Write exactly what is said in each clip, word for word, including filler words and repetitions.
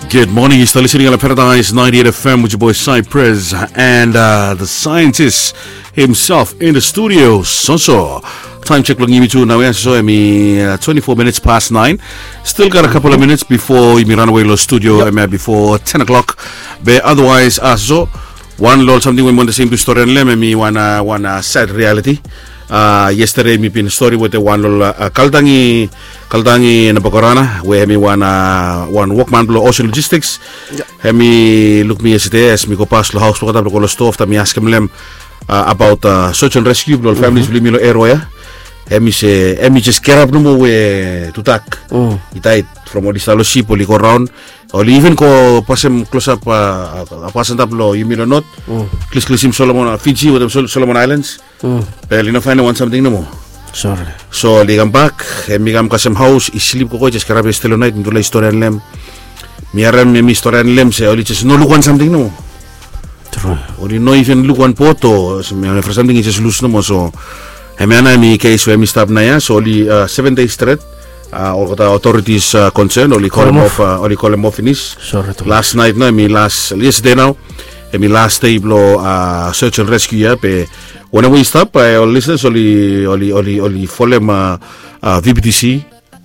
Good morning, you still listening on Paradise ninety-eight F M with your boy Cypress and uh, the scientist himself in the studio, Soso. Time check blong yumi tu nau ya, so hemi uh, twenty-four minutes past nine. Still got a couple of minutes before yumi run away long studio, hemia before ten o'clock. Be otherwise, uh, so wan long ol samting we mi wantem sem tu stori long hem, hemi wan uh, wan uh, sad reality. Uh, yesterday mi bin stori wetem wan long uh, Kaltangi, Kaltangi Nabakorana, we hemi wan uh, wan wokman blong Ocean Logistics. Hemi luk mi yesterday as mi go pas long haos blong olgeta blong go long stoa, afta mi askem long hem uh, abaot uh, search and rescue blong ol families blong yumi long area ya. Hemi se hemi jes gerap nomo we tudak i dait from oli stap long sip, oli go raon. Oli even go pasem klosap uh, pas antap long yumi long not, klisklisim Solomon, uh, Fiji wetem Sol- Solomon Islands. Be oli no faenem wan samting nomo. Sore. So oli kambak, hemi kam kasem haos, i slip gogo, i jes gerap yestede long naet, mitufala i storian long hem. Mi harem hemi storian long hem se oli jes no luk wan samting nomo. Tru. Oli no even luk wan bot o, se mi harem evri samting i jes lus nomo. So hemia nao hemi kes we hemi stap naoia. So oli uh, seven days stret uh, olgeta authorities uh, concern oli kolem of, uh, oli kolem of finis. Sore tru. Las naet nao, hemi las, yestede nao, hemi las dei blong uh, search and rescue ya. Be wanem we i stap, bae ol listeners oli oli oli oli folem uh, uh, V B T C,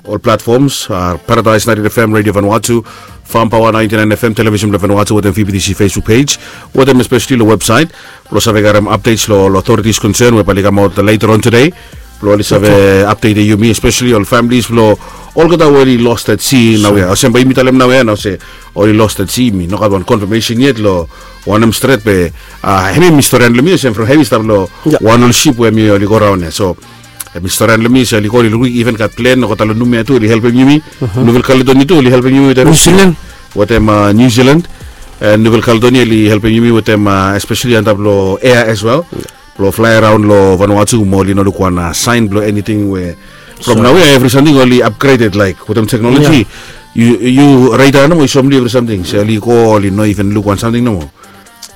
ol platforms, uh, Paradise ninety-eight F M Radio Vanuatu, Farm Power ninety-nine F M, Television blong Vanuatu wetem V B T C Facebook page, wetem especially long website blong save karem updates long ol authorities concern we bae oli kamaot later on today blong oli save update yumi, especially ol families blong olgeta we oli lost at sea naoia. Olsem bae yumi talem naoia nao se oli lost at sea, mi no gat wan confirmation yet long wanem stret, be uh, hemi hemi storian long mi olsem from hemi stap long wan ol sip we hemi oli go raon ya. So hemi storian long mi se oli go, oli luk, even gat plen olgeta long Numea tu oli helpem yumi. Nouvelle Caledonie tu oli helpem yumi wetem New Zealand. Wetem uh, New Zealand. And Nouvelle Caledonie oli helpem yumi wetem uh, especially antap long air as well, blong flae raon long Vanuatu, mo oli no luk wan uh, sign blong anything we from naoia evri samting oli upgraded, like wetem technology. Yu, yu radar nomo i soem long yu evri samting. Se oli go, oli no even luk wan samting nomo.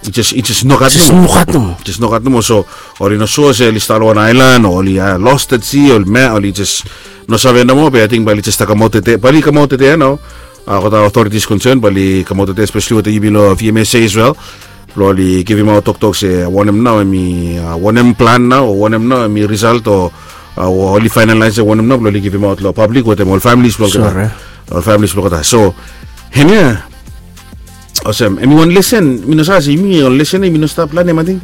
I jes, i jes nogat nomo. Jes nogat nomo. So oli no sua se oli stap long wan aelan o oli uh, lost at sea, oli ma, oli jes no save nomo. Be ating bae oli jes stap kamaot tede, bae oli kamaot tede ya nao. Uh, olgeta authorities concern bae oli kamaot tede, especially wetem yumi long V M S A as well, blong oli givimaot toktok se wanem nao hemi uh, wanem plan nao, o wanem nao hemi result o uh, oli finalize wanem nao blong oli givimaot long public wetem ol families blong olgeta. Ol families blong olgeta. So hemia olsem hemi wan lesen, mi no save se yumi ol lesen ya yumi no stap lanem ating.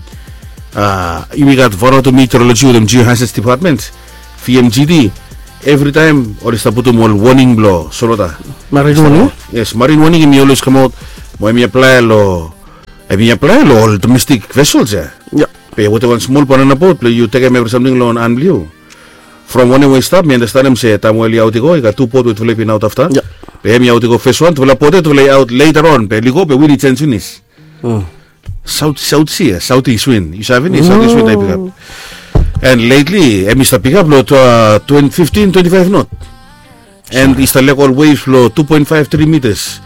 Uh, yumi gat Vanuatu Meteorology wetem Geohazards Department, V M G D. Evritaem oli stap putum ol warning blong solwota. Marine warning? Yes, marine warning hemi always kamaot. Mo hemi aplae long, hemi aplae long ol domestic vessels ya. Be wetem wan smol banana boat blong yu tekem evri samting long wan an blong yu. From wanem we i stap, mi andastanem se taem we oli aot i go, i gat tu bot we tufala i bin aot afta. Be hemi aot i go fes wan, tufala bot ya tufala i aot later on, be oli go be win i jenis finis. South, South Sea, South East wind. Yu save ni South East wind i pikap. And lately hemi stap pikap long uh, twenty, fifteen, twenty-five knot. And i stap lek ol waves long two point five three meters.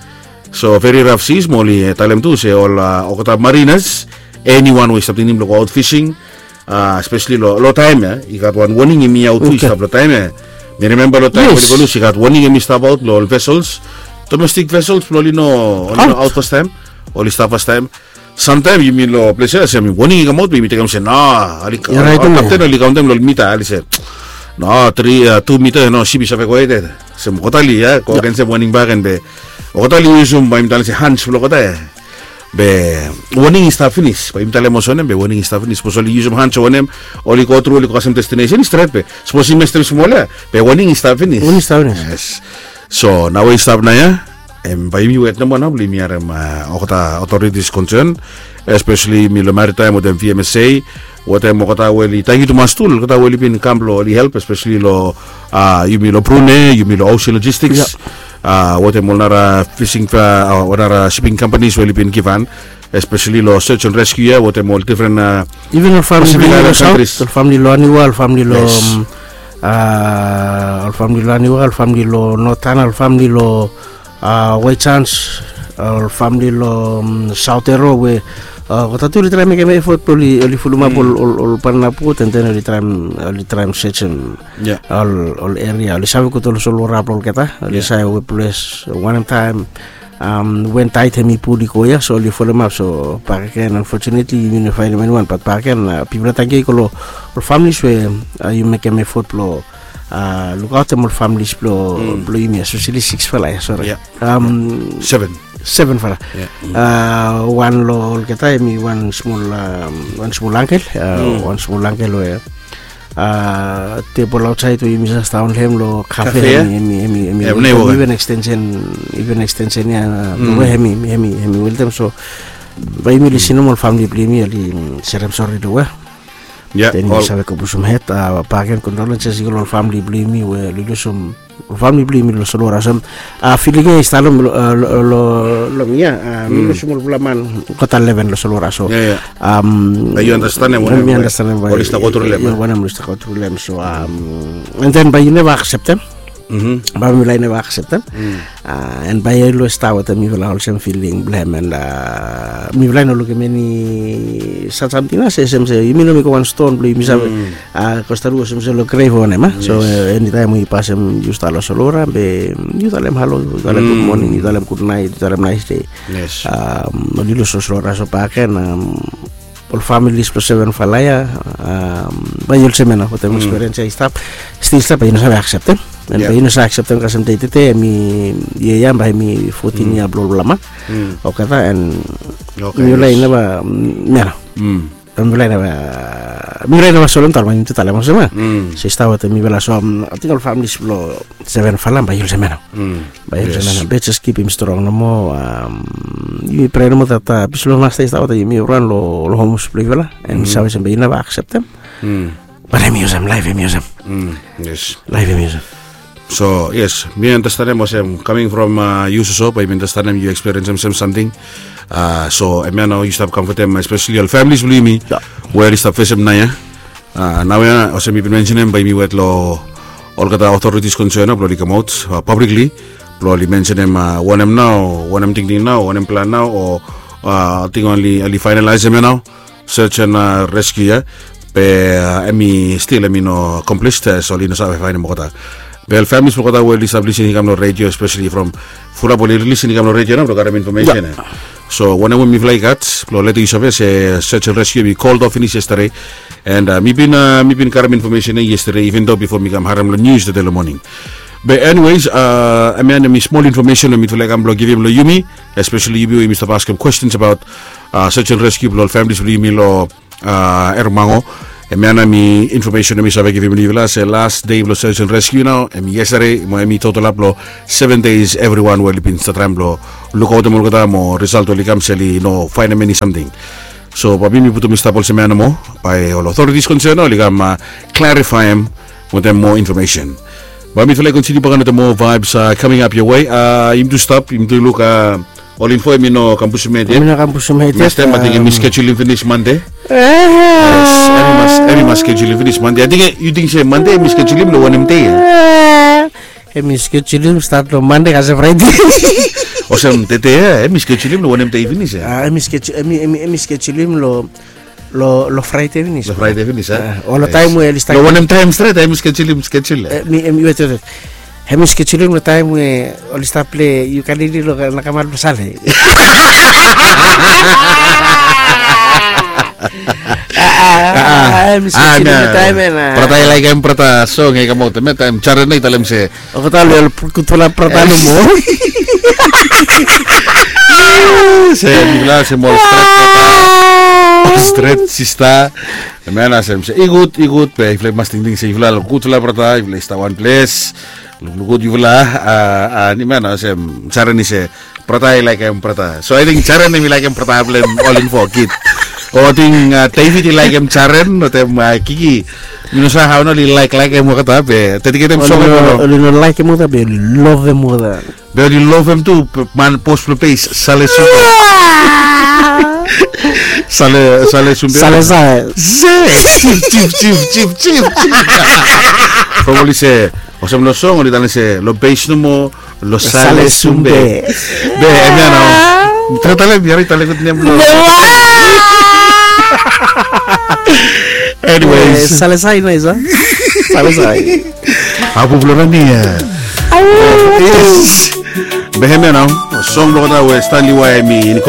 So very rough seas. Mo oli eh, talem tu se ol uh, olgeta mariners, anyone we i stap tingting blong go out fishing, uh, especially lo, lo taem ya i gat wan warning hemi aot tu i stap lo taem ya. Mi remember lo taem we oli go lus i gat warning hemi stap aot lo ol vessels, domestic vessels blong oli no, oli no aot fastaem, oli stap fastaem. Samtaem yumi lo ples ya olsem warning i kamaot be yumi tekem olsem no, oli kapten oli kaontem lo ol mita, oli se no, tri, tu mita no, sip i save go hed. Olsem olgeta oli ya go agensem warning bakegen be olgeta oli yusum, bae yumi talem se hunch blong olgeta ya. Be warning i stap finis, bae yumi talem olsem wanem, be warning i stap finis. Sapos oli yusum hunch o wanem, oli go tru, oli go kasem destination i stret, be sapos i mestem smol ya, be warning i stap finis. Warning i stap finis. Yes. So nao we i stap nao ya, em, bae yumi wet nomo nao blong yumi harem olgeta authorities concern, especially yumi lo maritime wetem V M S A, wetem olgeta we oli, tangkiu tumas tu lo olgeta we oli bin kam blong oli help, especially lo, uh, yumi lo Brunei, yumi lo Ocean Logistics, uh, wetem ol nara fishing, uh, ol nara shipping companies we oli bin givhan, especially lo search and rescue ya wetem ol different, uh, even ol famili lo South, ol famili lo Aniwa, ol famili lo, um, uh, ol famili lo Aniwa, ol famili lo North Tanna, ol famili lo uh, White Sands, uh, ol famili lo, um, South Aro we, uh, olgeta tu oli traem mekem effort blong oli, oli fulumap ol, ol, ol banana boat, and then oli traem, oli traem search ol, ol area. Oli save gud ol solwota blong olgeta, oli save we ples wanem taem Wen taet hem i pul i go ya, so oli folemap. So bakegen, unfortunately yumi no faenem eniwan, bat bakegen pipela tangke i go long ol familis we yu mekem efot blong lukaotem ol familis blong yumi, espeseli siksfala ya, sori. Seven. Sevenfala. Wan long olgeta hem i wan smol, wan smol angkel, wan smol angkel we tebol aotsaed we yumi save daon long hem long kafe, hem i, hem i, hem i, hem i even ekstensen, even ekstensen ya, long we hem i, hem i, hem i weltem. So bae yumi lisenim ol famili blong yumi oli serem sori long we. Then yumi save go pusum hed. Bakegen, condolences i go long ol famili blong yumi we oli lusum ol famili blong yumi long solwara. So filing ya i stap long, long mi ya, mi lusum olfala man olgeta leven long solwara. So yu andastanem wanem oli stap go tru long hem. So and then bae yu neva akseptem. Bae mifala i neva akseptem. And bae yu always stap wetem mifala olsem filing blong hem, and mifala i no lukim eni sat samting nao se olsem se yumi no mekem wan ston blong yumi save kos tru olsem se long grev o wanem. So enitaem we yu pasem, yu stap long solwara be yu talem halo, yu talem gudmoning, yu talem gudnaet, yu talem naesde. Oli lus long solwara. So bakegen ol familis blong sevenfala ya, bae yu olsem ya nao wetem ekspiriens ya i stap, stil stap, bae yu no save akseptem. And bae yu no save akseptem kasem dei tede, hem i, yia ya bae hem i fotin yia blong olfala man olgeta, and mifala i neva, ya nao. Mifala i neva, mifala i neva solemtaem, bae yumi tu talem olsem ya. So i stap wetem mifala. So ating ol familis blong sevenfala bae yu olsem ya nao. Bae yu olsem ya nao, be jes kipim strong nomo. Yumi prea nomo dat pis blong Masta i stap wetem yumi, ran long homes blong yufala, and save olsem bae yu neva akseptem. Bat hem i olsem, laef hem i olsem. Laef hem i olsem. So yes, mi andastanem olsem, kaming from yu soso, bae yumi andastanem yu ekspiriensim olsem samting. So hemia nao yu stap kamfotem espeseli ol familis blong yumi we oli stap fesem naoia. Naoia olsem mi bin mensenem, bae yumi wet long olgeta authorities concern nao blong oli kamaot publicly blong oli mensenem wanem nao, wanem tingting nao, wanem plan nao, o ating oli fainalaesem ya nao search and rescue ya. Be hem i stil, hem i no complete, so oli no save faenem olgeta. Be ol familis blong olgeta we oli stap lisin i kam long redio, espeseli from fulap oli lisin i kam long redio nao blong karem infomesen ya. So wanem we mifala i gat blong letem yu save se search and rescue hem i called off finis yesterday. And mi bin, mi bin karem infomesen ya yesterday, even though bifo mi kam harem long nius tede long moning. Be anyways, hemia nao hem i smol infomesen we mifala i kam blong givim long yumi, espeseli yumi we yumi stap askem kwestens abaot search and rescue blong ol familis blong yumi long Eromango. Hemia nao hem i infomesen we mi save givim long yufala se las dei blong search and rescue nao hem i yesterday, mo hem i total ap long seven days evriwan we oli bin stap traem blong lukaotem olgeta, mo risalt oli kam se oli no faenem eni samting. So bae mi putum i stap olsem ya nomo, bae ol authorities concern nao oli kam klarifaem wetem moa infomesen. Bae mifala i kontiniu bak wetem moa vibes coming up your way. Yumi tu stap, yumi tu luk ol info, hem i no kam pusum hed yet. Hem i no kam pusum hed yet. Nekstem ating hem i skejulim finis Mande. Yes, hem i mas, hem i mas skejulim finis Mande. Ating yu ting se Mande hem i skejulim long wanem dei ya? Hem i skejulim stat long Mande kasem Fraede. Olsem tede ya hem i skejulim long wanem dei finis ya? Hem i skejulim long, long Fraede finis. Long Fraede finis a? Ol taem we oli stap, long wanem taem stret hem i skejulim, skejul ya? Wet, wet, wet. Hem i skejulim long taem we oli stap plei Ukulele long nakamal blong Sale. Hem i skejulim long taem ya. Brata i laekem brata song ya i kamaot, hemia taem Jaren i talem se, olgeta oli ol gudfala brata nomo. Se mifala olsem ol stret brata, ol stret sista. Hemia nao olsem se i gud, i gud, be yufala i mas tingting se yufala ol gudfala brata, yufala i stap wan ples. Lukluk gud yufala. Hemia nao olsem Jaren i se brata i laekem brata. So ating Jaren hem i laekem brata blong hem ol info kid. O ating David i laekem Jaren wetem Kiki. Mi no save hao nao oli laeklaekem olgeta be dediketem song ya long, oli no laekem olgeta be oli lovem olgeta. Be oli lovem tu man, bos blong bes, Sale Sumbe. Sale, Sale Sumbe. Sale Sae. Jif, jif, jif, jif, jif. From oli se olsem long song oli talem se long bes nomo, long Sale Sumbe. Be hemia nao, tara talem, yu harim, talem gud nem blong. Anyways, Sale Sae naes a? Sale Sae. Abu blong Rania. Yes. Be hemia nao song blong olgeta we Stanley Wai hem i